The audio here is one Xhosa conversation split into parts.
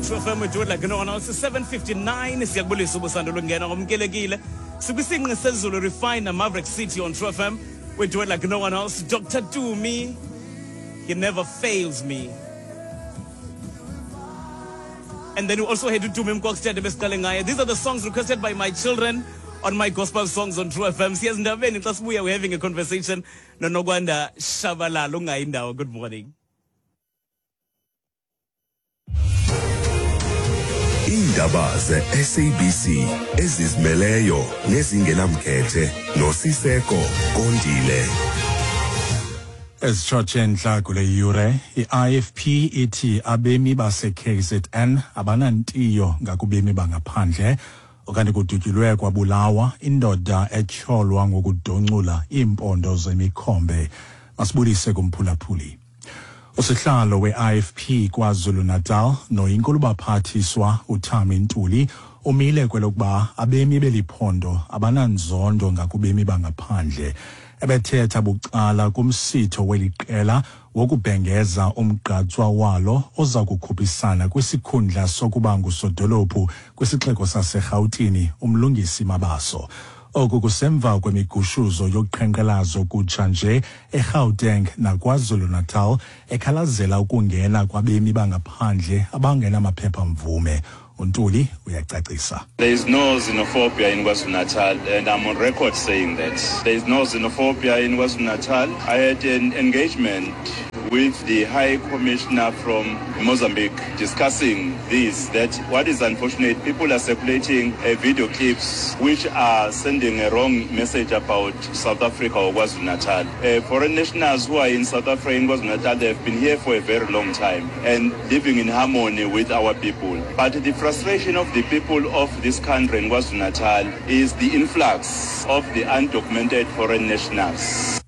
True FM we do it like no one else. 7:59 siyakubulisa ubusando lungena ngomkelekile. Sikwisinqi sezulu Refiner Maverick City on True FM. We do it like no one else. Dr. Tumi, he never fails me. And then we also had uTumi Mkokstad ebesiqale ngaye. These are the songs requested by my children on my gospel songs on True FM. Siyezindabeni xa sibuya we're having a conversation noNokwanda Shabalala ungayi ndawo. Good morning. Iindaba ze-SABC ezizimeleyo nezingenamkhethe noSiseko Kondile. Ezitshotshe entla kule yure, i-IFP ithi abemi base-KZN abanantiyo ngakubemi bangaphandle okanye kudutyulwe kwabulawa indoda etyholwa ngokudoncula iimpondo zemikhombe. Masibulise kumphulaphuli. Usihlalo we-IFP KwaZulu-Natal noyinkulubaphathiswa uThami Ntuli umile kwelokuba abemi beli phondo abananzondo ngakubemi bangaphandle. Ebethetha bucala kumsitho weli qela wokubhengeza umgqatswa walo oza kukhuphisana kwisikhundla sokuba ngusodolophu kwisixeko saseRhawutini uMlungisi Mabaso. Oku kusemva kwemigushuzo yoqhankqalazo kutsha nje eGauteng naKwaZulu-Natal ekhalazela ukungena kwabemi bangaphandle abangenamaphepha-mvume. UNtuli uyacacisa. There is no xenophobia in KwaZulu-Natal, and I'm on record saying that. There is no xenophobia in KwaZulu-Natal. I had an engagement with the High Commissioner from Mozambique discussing this, that what is unfortunate, people are circulating video clips which are sending a wrong message about South Africa or KwaZulu-Natal. Foreign nationals who are in South Africa, in KwaZulu-Natal, they have been here for a very long time and living in harmony with our people. But the frustration of the people of this country in KwaZulu-Natal is the influx of the undocumented foreign nationals.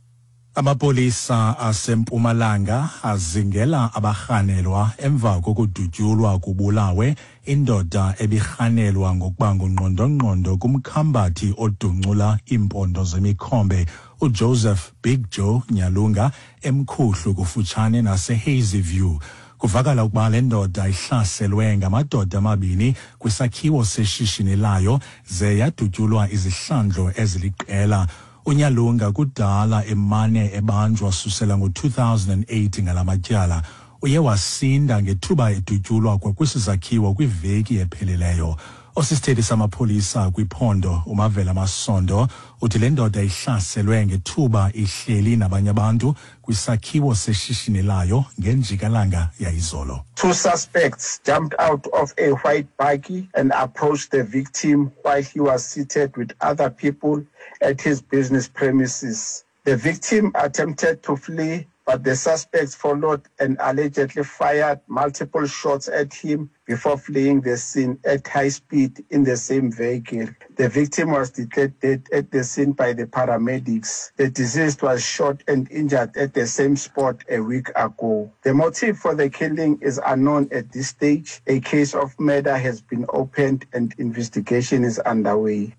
Amapolisa aseMpumalanga azingela abarhanelwa emva kokudutyulwa kubulawe indoda ebirhanelwa ngokuba ngungqondongqondo kumkhambathi oduncula iimpondo zemikhombe uJoseph Big Joe Nyalunga eMkhuhlu kufutshane naseHazyview. View. Kuvakala ukuba le ndoda ihlaselwe ngamadoda amabini kwisakhiwo seshishini layo ze yadutyulwa izihlandlo eziliqela. UNyalunga kudala emane ebanjwa susela ngo-2008 ngala matyala. Uye wasinda ngethuba edutyulwa kwakwesi sakhiwo kwiveki ephelileyo. Osisithethi samapolisa kwiphondo uMavela Masondo uthi le ndoda ihlaselwe ngethuba ihleli nabanye abantu kwisakhiwo seshishini layo ngenjikalanga yayizolo. Two suspects jumped out of a white bakkie and approached the victim while he was seated with other people at his business premises. The victim attempted to flee, but the suspects followed and allegedly fired multiple shots at him before fleeing the scene at high speed in the same vehicle. The victim was declared dead at the scene by the paramedics. The deceased was shot and injured at the same spot a week ago. The motive for the killing is unknown at this stage. A case of murder has been opened and investigation is underway.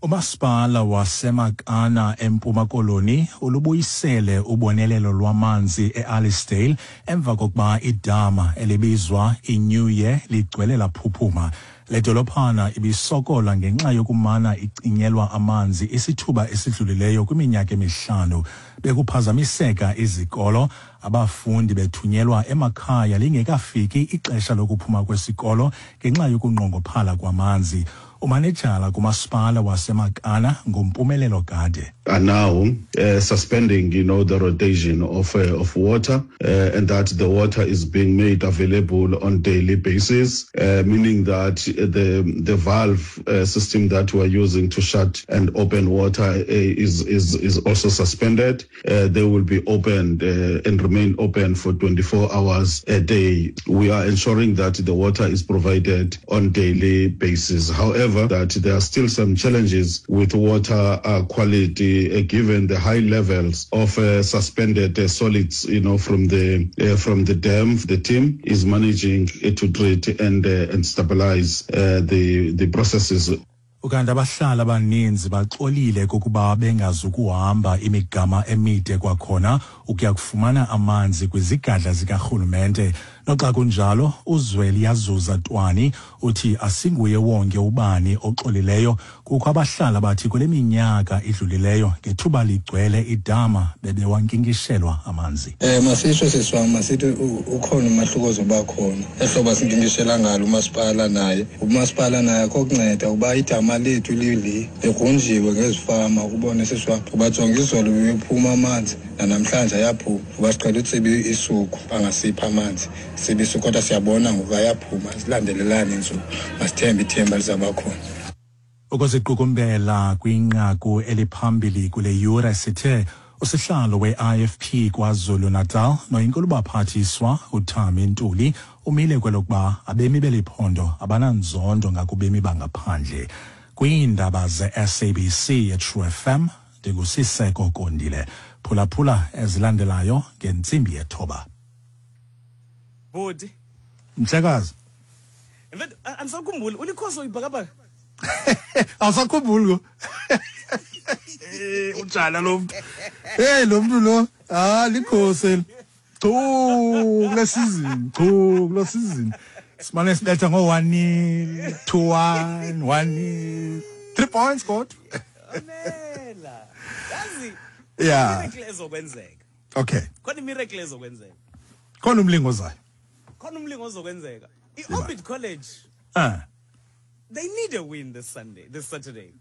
Umasipala waseMakana eMpuma Koloni ulubuyisele ubonelelo lwamanzi eAlisdale emva kokuba idama elibizwa iNew Year ligcwele laphuphuma. Le dolophana ibisokola ngenxa yokumana icinyelwa amanzi isithuba esidlulileyo kwiminyaka emihlanu. Bekuphazamiseka izikolo, abafundi bethunyelwa emakhaya lingekafiki ixesha lokuphuma kwesikolo ngenxa yokunqongophala kwamanzi. Umanejala kumasipala waseMakana nguMpumelelo Gade. Are now suspending the rotation of water, and that the water is being made available on daily basis, meaning that the valve system that we are using to shut and open water is also suspended. They will be opened and remain open for 24 hours a day. We are ensuring that the water is provided on daily basis. However, that there are still some challenges with water quality, given the high levels of suspended solids from the dam. The team is managing to treat and stabilize the processes. Ukanti abahlali abaninzi baxolile kokuba bengazukuhamba imigama emide kwakhona ukuya kufumana amanzi kwizigadla zikarhulumente. Noxa kunjalo, uZweliyazuza Twani uthi asinguye wonke ubani oxolileyo. Kukho abahlali abathi kule minyaka idlulileyo ngethuba ligcwele idama bebewankinkishelwa amanzi. Masitsho sisi wam, masithi ukhona umahluko ozoba khona ehlobo sinkinkishela ngalo umasipala naye. Umasipala naye akho kunceda kuba idama lethu lili ligrunjiwe ngezifama, ukubone sisi wam. Kuba jonga izolo bebephuma amanzi, nanamhlanje ayaphuma. Kuba siqhela utsiba isuku bangasiphi amanzi, sibe isuku, kodwa siyabona ngoku ayaphuma, zilandelelane iintsuku. Masithembe ithemba lizawuba khona. Ukuziqukumbela kwinqaku eliphambili kule yure, sithe usihlalo we-IFP KwaZulu-Natal noyinkulubaphathiswa uThami Ntuli umile kwelokuba abemi beli phondo abananzondo ngakubemi bangaphandle. Kwiindaba ze-SABC eTrue FM, ndinguSiseko Kondile. Phulaphula ezilandelayo ngentsimbi yethoba. Bhuti. Mhlekazi. In fact, andisakhumbuli ulikhosi oyibhakabhaka. Awusakhumbuli ko? Unjani lo mntu? Hey, lo mntu lo, ah, likhosi eli. Chu kule season, chu kule season. Simane sibetha ngo 1-0, 2-1, 1-0. 3 points kodwa. Amela. Yazi. Miracle ezokwenzeka. Khona miracle ezokwenzeka. Khona umlingo ozayo. Khona umlingo ozokwenzeka. I-Orbit College. They need a win this Sunday, this Saturday.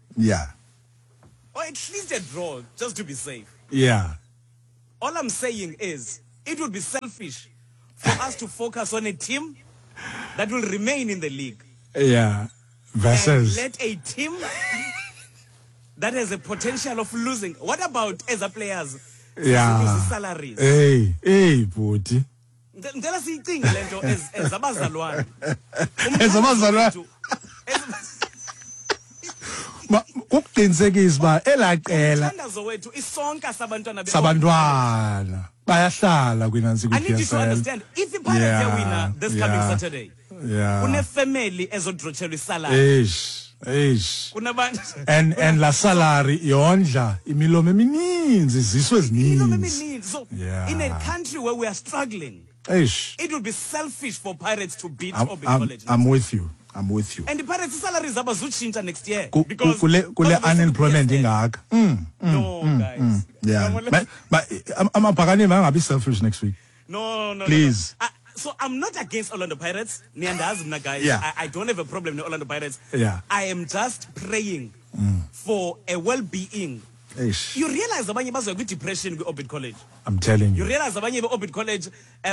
Or at least a draw, just to be safe. All I'm saying is, it would be selfish for us to focus on a team that will remain in the league. Versus. And let a team that has a potential of losing. What about as a players? Lose salaries. Hey, hey, bhuti. Ndicela siyicinge le nto as abazalwane. As abazalwane. Kukuqinisekisa uba elaa qela Umthandazo wethu isonka sabantwana sabantwana bayahlala kwinantsi I need you to kwi-PSL. understand, if iPirates yawina this coming Saturday, kunefamily ezodrotshelwa isalary. Eish, eish. Kunabantu And la salary yondla imilomo emininzi, iziswe ezininzi. Imilomo emininzi. So in a country where we are struggling, Eish. it would be selfish for Pirates to beat Orbit College. I'm with you. I'm with you. And the Pirates salaries abazutshintsha next year. Because Kule because unemployment of ingaka. No, guys. Yeah. Come on, But amabhakane mangabi selfish next week. No, no, no, Please. no. So I'm not against Orlando Pirates. Niyandazi mna, guys. I don't have a problem with Orlando Pirates. I am just praying for a well-being. Eish. You realize abanye bazoya kwi-depression kwi-Orbit College. I'm telling you. You realize abanye be-Orbit College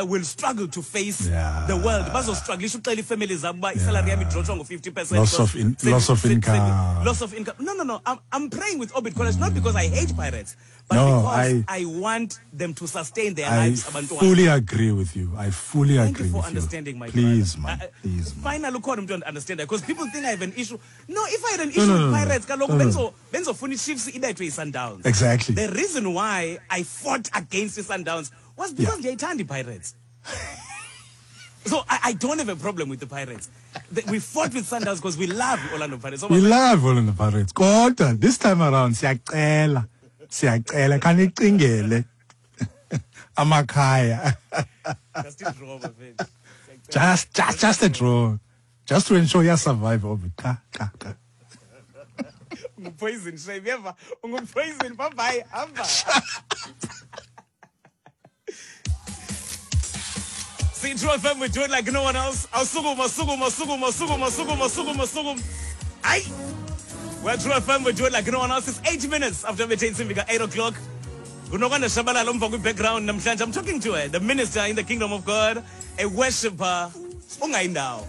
will struggle to face the world. Bazostrugglisha uxela ii-families zabo uba isalary yam idrotshwa ngo-50%. Loss of loss of income. Loss of income. No, no, no. I'm praying with Orbit College, not because I hate Pirates, but No, because I want them to sustain their I lives. Abantwana. fully agree with you. I fully Thank you agree for with you. understanding, my Please, brother. man. Please, man. Finally, ukhona umntu understand that, because people think I have an issue. No, if I had an No, issue no, with no, no. Pirates, kaloku No, no. benzofuna iChiefs ibethwe yiSundowns. Exactly. The reason why I fought against the Sundowns was because ndiyayithanda iPirates. So I don't have a problem with the Pirates. We fought with Sundowns because we love Orlando Pirates. So We love Orlando Pirates. Kodwa this time around siyacela. Siyacela khanicingele amakhaya. Just a draw, my friend. Just a draw. Just to ensure you survive of it. Ka, ka, ka. Ungupoison, shame. Yeva. Ungupoison. Bye bye. Hamba. See, True FM, we do it like no one else. Awusukuma, sukuma, sukuma, sukuma, sukuma, sukuma, sukuma. Aye. We're True FM, we do it like no one else. It's 8 minutes after the 8 o'clock. Kunokwanda Shabalala umva kwi-background namhlanje. I'm talking to her, the minister in the kingdom of God, a worshipper, ungayindawo.